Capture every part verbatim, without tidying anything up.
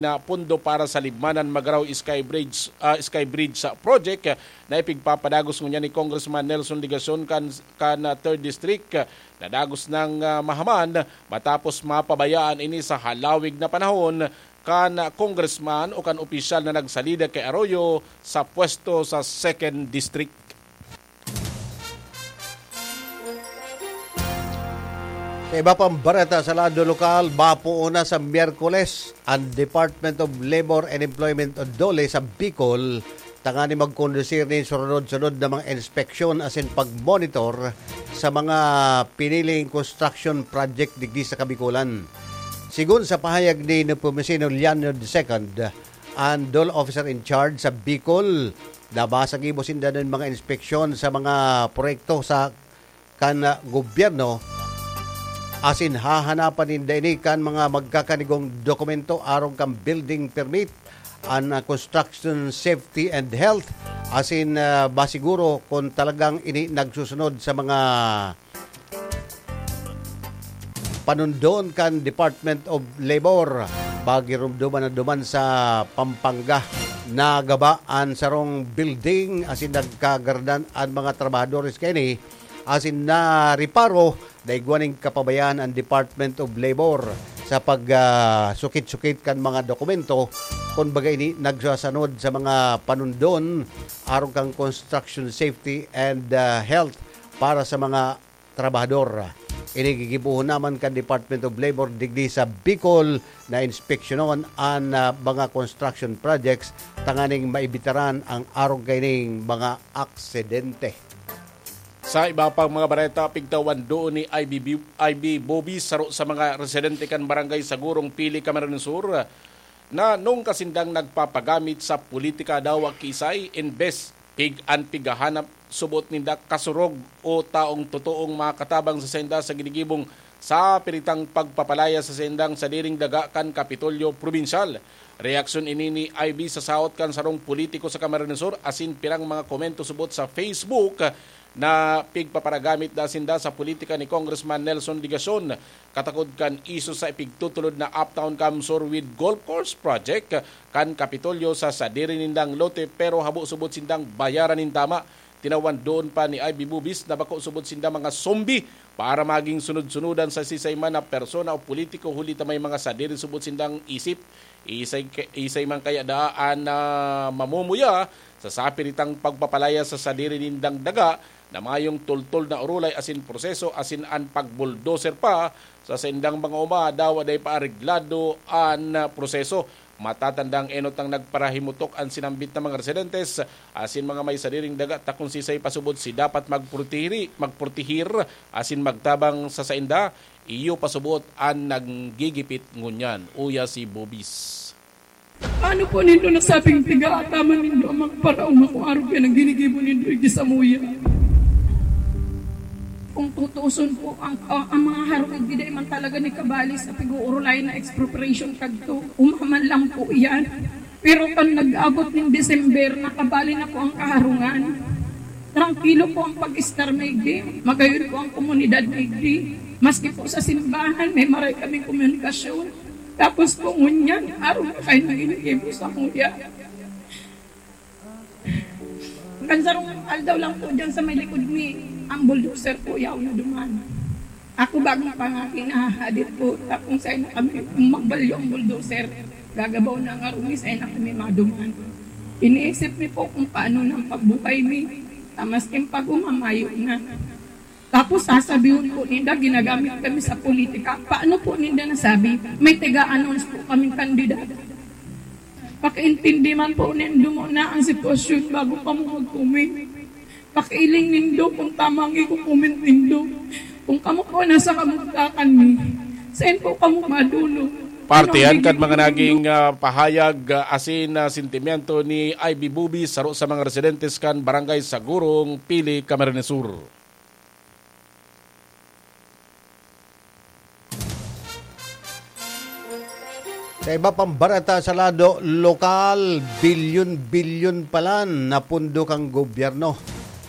na pondo para sa Libmanan-Magarao Sky Bridge, ah, Sky Bridge sa project na ipigpapadagos ngunyan ni Congressman Nelson Legacion kan, kan, ah, third District. Nadagos nang, ah, mahaman matapos mapabayaan ini sa halawig na panahon kan congressman o kan opisyal na nagsalida kay Arroyo sa pwesto sa second District. Sa iba pang bareta sa lado lokal, mapoon na sa Miyerkules ang Department of Labor and Employment o DOLE sa Bicol tanganing magkondusir nin sunod-sunod na mga inspeksyon asin pagmonitor sa mga piniling construction project digdi sa Kabikolan. Sigon sa pahayag ni Nepomuceno Leanio the second, ang DOLE officer in charge sa Bicol, nabasa gibo sinda nin mga inspeksyon sa mga proyekto sa kan, ah, gobyerno, asin hahanapan ninda ini kan mga magkakanigong dokumento arog kan building permit, an, ah, construction safety and health, asin, ah, masiguro kung talagang ini nagsusunod sa mga panundon kan Department of Labor. Pagirumduman na duman sa Pampanga, nagaba an sarong building asin nagkagaradan an mga trabahadores kaini asin nareparo na igwa nin kapabayaan an Department of Labor sa pag, ah, sukit-sukit kan mga dokumento, kun baga ini nagsasanod sa mga panundon arog kan construction safety and, ah, health para sa mga trabahador. Ini gigibohon naman kan Department of Labor digdi sa Bicol na inspeksyonon an, ah, mga construction projects tanganing maibitaran ang arog kaining mga aksidente. Sa iba pang mga bareta, pigtawan doon ni I B B, I B Bobis, saro sa mga residente kan Barangay Sagurong, Pili, Camarines Sur, na nung kasindang nagpapagamit sa politika dawa kiisay, imbes pig an pighahanap, subot ninda kasurog o taong totoong makatabang sa sainda sa ginigibong sa piritang pagpapalaya sa saindang sadiring daga kan Kapitolyo Probinsyal. Reaksyon ini ni I B sa saot kan sarong politiko sa Camarines Sur asin pirang mga komento subot sa Facebook na pigpaparagamit da sinda sa politika ni Congressman Nelson Legacion, katakod kan isyu sa ipigtutulod na Uptown CamSur with Golf Course Project kan Kapitolyo sa sadiri nindang lote, pero habo subot sindang bayaran nin tama. Tinawan doon pa ni I B Bubis na bako subot sinda mga zombie para maging sunod-sunudan sa sisay man na persona o politiko, huli ta may mga sadiri subot sindang isip. Isay, isay man kaya daa an, ah, mamumuya sa sapiritang pagpapalaya sa sadiri nindang daga na mayong tultol na orolay asin proseso, asin an pagbulldozer pa sa saindang mga oma, dawa dai pa areglado an, ah, proseso. Matatandang enot nang nagparahimutok an sinambit na mga residentes asin mga may sadiring daga, ta kun sisay pasubod si dapat magprotehi-, magprotehir asin magtabang sa sainda, iyo pasubot an naggigipit ngunyan, uya si Bobis. Paano po nindo nasabing tiga ataman nindo ang magparaoma kung arog yan ang ginigibo nindo igdi samuya? Kung tutuuson po, ang, ang, ang mga harong igdi dai man talaga ni kabali sa pag-uurulay na expropriation kadto. Umaman lang po yan. Pero kan nag-abot nin December, nakabali na po ang kaharungan. Trangkilo po ang pag-estar na igdi. Magayod po ang komunidad na igdi. Maski po sa simbahan, may maray kaming komunikasyon. Tapos po ngunyan, arog na kayo naging sa kuya. Kan sarong aldaw lang po dyan sa may likod mi, ang bulldozer po yaw na duman. Ako bagong pangaki, nahahadit po. Tapos sa'yo na kami, kung magbalyo ang bulldozer, gagabaw na ang arumi, sa'yo na kami maduman. Iniisip mi po kung paano nang pagbuhay mi. Tamas yung pag-umamayo na. Tapos sasabihon po ninda, ginagamit kami sa politika. Paano po ninda nasabi? May taga-announce po kaming kandidato. Pakiintindi man po nindo muna ang sitwasyon bago kamo mag-comment. Pakiiling nindo kung tama ang i-comment nindo. Kung kamo po nasa kamugtakan mi, saan po kamo madulog? Parte Ano ang yan kan mga bibigay naging, nindo? Ah, pahayag, ah, asin, ah, sentimiento ni I B Bubis, saro sa mga residentes kan Barangay Sagurong, Pili, Camarines Sur. Sa iba pang bareta sa lado lokal, bilyon-bilyon palan na pondo kan gobyerno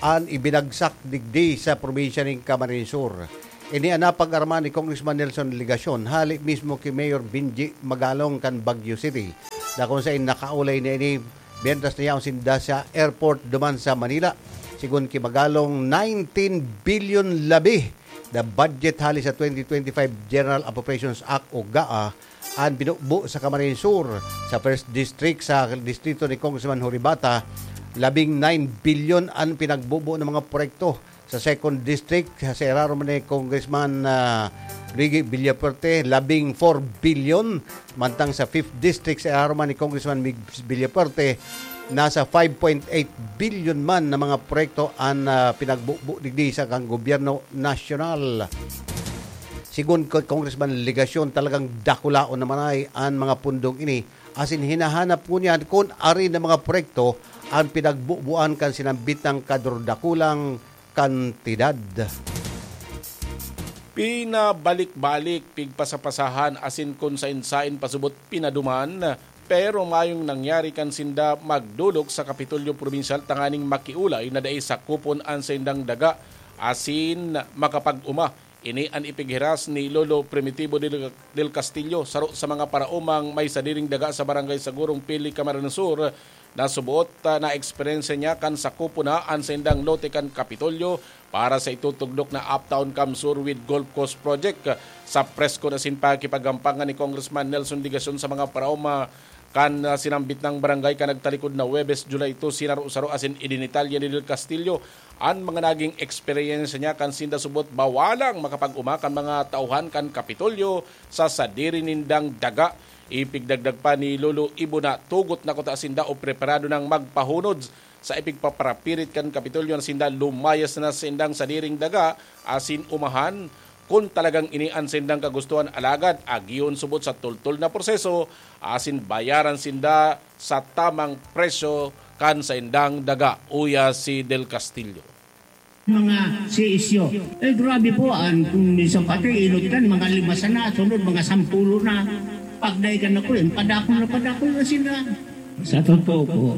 an ibinagsak digdi sa probinsya nin Camarines Sur. Ini an napag-armahan ni Congressman Nelson Legacion, hali mismo ki Mayor Benji Magalong kan Baguio City, na kung sain nakaulay niya ini, mientras na yaon sinda sa airport duman sa Manila. Sigon ki Magalong, nineteen billion labi na budget hali sa twenty twenty-five General Appropriations Act o GAA an binubo sa Camarines Sur. Sa First District, sa distrito ni Congressman Horibata, labing nine billion an pinagbubo ng mga proyekto. Sa Second District, sa irarom ni Congressman, ah, Luigi Villafuerte, labing four billion. Mantang sa Fifth District, sa irarom ni Congressman Migs Villafuerte, nasa five point eight billion man na mga proyekto an, ah, pinagbubo digdi sa kan gobyerno nasyonal. Sigon kay Congressman Legacion, talagang dakulaon naman ay an mga pundong ini, asin hinahanap ngunyan kun arin na mga proyekto an pinagbubuan kan sinambit na kadurdakulang kantidad. Pinabalik-balik, pigpasapasahan asin kun sain-sain pasubot pinaduman, pero mayong nangyari kan sinda magdolok sa Kapitolyo Probinsyal tanganing makiulay na dai sakupon an saindang daga asin makapag-oma. Ini an ipighiras ni Lolo Primitivo del, del Castillo, saro sa mga paraomang may sadiring daga sa Barangay Sagurong, Pili, Camarines Sur, na suboot, ah, na eksperyensya niya kan sakupon na an saindang lote kan Kapitolyo para sa itutugdok na Uptown Camsur with Golf Course Project. Sa presko na sin pakikipaggampangan ni Congressman Nelson Legacion sa mga paraoma kan, ah, sinambit nang barangay kan nagtalikod na Huwebes, July two, sinaro-saro asin idinitalya ni Del Castillo an mga naging eksperyensya niya kan sinda subot bawalang makapag-oma kan mga tauhan kan Kapitolyo sa sadiri nindang daga. Ipigdagdag pa ni Lolo Ibo na tugot na kuta sinda o preparado nang magpahunod sa ipigpaparapirit kan Kapitolyo na sinda lumayas na sa sindang sadiring daga asin omahan kun talagang ini an sindang kagustuhan, alagad agihon subot sa tultol na proseso asin bayaran sinda sa tamang presyo kan saindang daga, uya si Del Castillo. Mga C S U. Eh, grabe po, an, kung minsan pati, inot kan, mga lima sana, sunod, mga sampulo na. Pagday ka na po, yan, padakol na padakol na sila. Sa totoo po,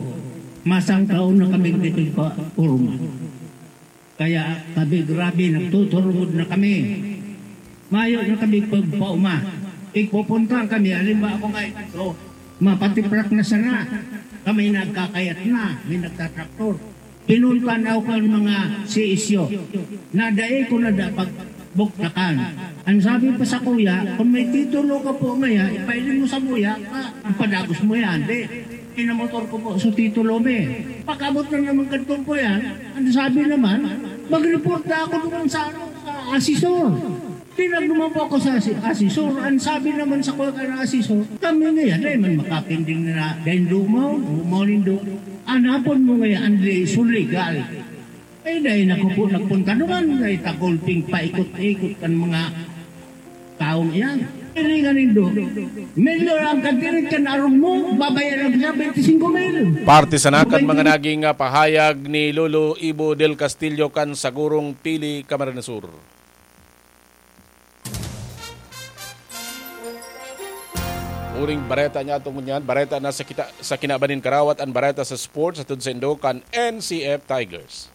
masang taon na kami dito pa, Urma. Kaya kami, grabe, nagtuturungod na kami. Mayo na kami pagpauma. Igpupunta kami, halimbawa ako nga, ito, mapatiprak na sana. Kami nagkakayat na, may nagtatraktor. Pinunta na ako kan mga C S U na dai ko na dapat buktakan. Ang sabi pa sa kuya, "Kung may titulo ka po ngaya, ipailing mo sa kuya, pa, ipadagos mo yan." Di, pinamotor ko po sa titulo, me. Pag-abot na naman kadto po yan, ang sabi naman, "Mag-report na ako doon sa, ano, sa asesor." Tinagnuman po ako sa asi-, asesor. Ang sabi naman sa kuya kan asesor, "Kami ngayon, dahil man makapinding na dahil lumaw, lumaw nindo. Anapon mo ngayon, ang legal." Eh, dahil ako po nagpunta naman, dahil tagulping paikot-ikot kan mga taong iyan. Pilingan nindo, milyon ang katirit kan arog mo, babayaran ko siya twenty-five mil. Parte sana kan mga naging, ah, pahayag ni Lolo Ibo del Castillo kan Sagurong, Pili, Camarines Sur. Uring bareta niya atong ngunyan, bareta na sa kita, sa kinaban nin karawat, an bareta sa sports, hatod saindo kan N C F Tigers.